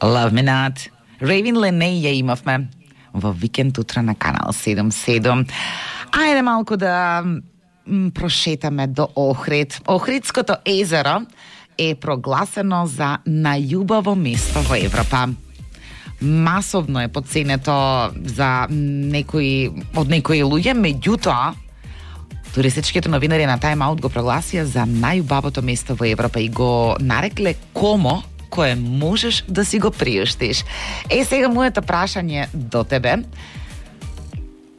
Love Me Not. Raven Леней ја имавме во викенд утре на Канал 77. Ајде малку да прошетаме до Охрид. Охридското езеро е прогласено за најубаво место во Европа. Масовно е поценето за некои луѓе, меѓутоа туристичките новинари на Time Out го прогласија за најубавото место во Европа и го нарекле комо кое можеш да си го приуштиш. Сега моето прашање до тебе: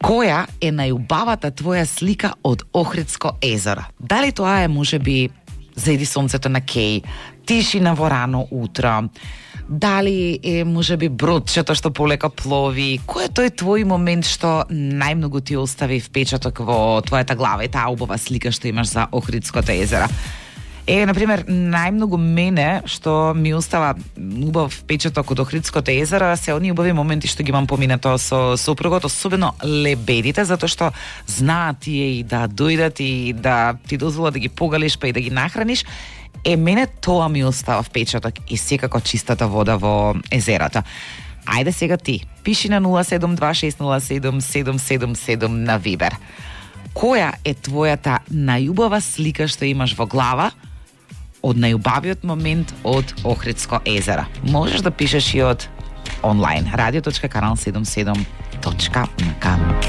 која е најубавата твоја слика од Охридско езеро? Дали тоа е можеби зајди сонцето на Кеј, тишина во рано утро? Дали е можеби бродчето што полека плови? Кој е тој твој момент што најмногу ти остави впечаток во твојата глава и таа убава слика што имаш за Охридското езеро? Например, најмногу мене што ми остава убав впечаток од Охридското езеро се оние убави моменти што ги имам поминато со сопругот, особено лебедите, затоа што знаат тие и да дојдат и да ти дозволат да ги погалиш па и да ги нахраниш. Мене тоа ми остава впечаток и секако чистата вода во езерото. Ајде сега ти, пиши на 072607777 на Вибер. Која е твојата најубава слика што имаш во глава од најубавиот момент од Охридско езеро? Можеш да пишеш и од онлайн radio.kanal77.nk.